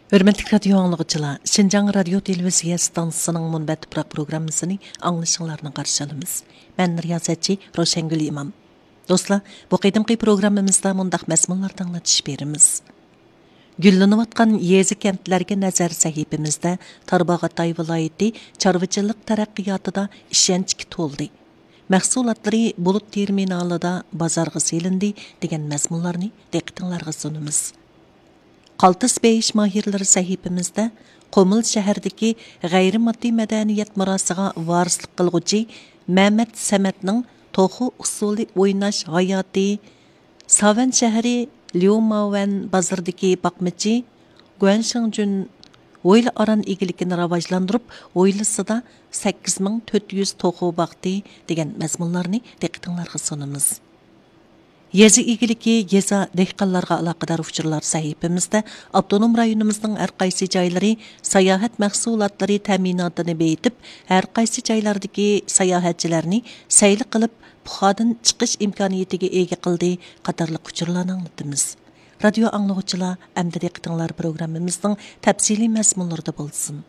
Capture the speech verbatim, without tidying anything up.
ھۆرمەتلىك رادىيو ئاڭلىغۇچىلار، شىنجاڭ رادىيو تېلېۋىزىيە ئىستانسىسىنىڭ مۇنبەت تۇپراق پروگراممىسىنى ئاڭلىشىڭلارنى قارشى ئالىمىز. مەن رىياسەتچى روشەنگۈل ئىمام. دوستلار، بۇ قېتىمقى پروگراممىمىزدا مۇنداق مەزمۇنلاردا ئاڭلىتىش بېرىمىز. گۈللىنىۋاتقان يېزا كەنتلەرگە نەزەر سەھىپىمىزدە تارباغاتاي ۋىلايىتى چارۋىچىلىق تەرەققىياتىدا ئىشەنچكە تولدى. مەھسۇلاتلىرى بۇلۇت تېرمىنالىدا بازارغا سېلىندى دېگەن مەزمۇنلارنى دىققىتىڭلارغا سۇنىمىز. قالتىس بېيىش ماھىرلىرى سەھىپىمىزدە قۇمۇل شەھىرىدىكى غەيرىي ماددىي مەدەنىيەت مىراسىغا ۋارىسلىق قىلغۇچى مەمەت سەمەتنىڭ توخۇ ئۇسسۇلى ئويناش ھاياتى، ساۋەن شەھىرى ليۇماۋەن بازىرىدىكى باقمىچى گۇەن شېڭجۈن ھويلا ئاران ئىگىلىكىنى راۋاجلاندۇرۇپ، ھويلىسىدا سەككىز مىڭ تۆت يۈز توخۇ باقتى دېگەن مەزمۇنلارنى دىققىتىڭلارغا سۇنىمىز. يېزا ئىگىلىكى، يېزا، دېھقانلارغا ئالاقىدار ئۇچۇرلار سەھىپىمىزدە ئاپتونوم رايونىمىزنىڭ ھەر قايسى جايلىرى ساياھەت مەھسۇلاتلىرى تەمىناتىنى بېيىتىپ، ھەر قايسى جايلاردىكى ساياھەتچىلەرنى سەيلە قىلىپ، پۇخادىن چىقىش ئىمكانىيىتىگە ئىگە قىلدى قاتارلىق ئۇچۇرلارنى ئاڭلىتىمىز. رادىيو ئاڭلىغۇچىلار، ئەمدى دىققىتىڭلار پروگراممىمىزنىڭ تەپسىلىي مەزمۇنلىرىدا بولسۇن.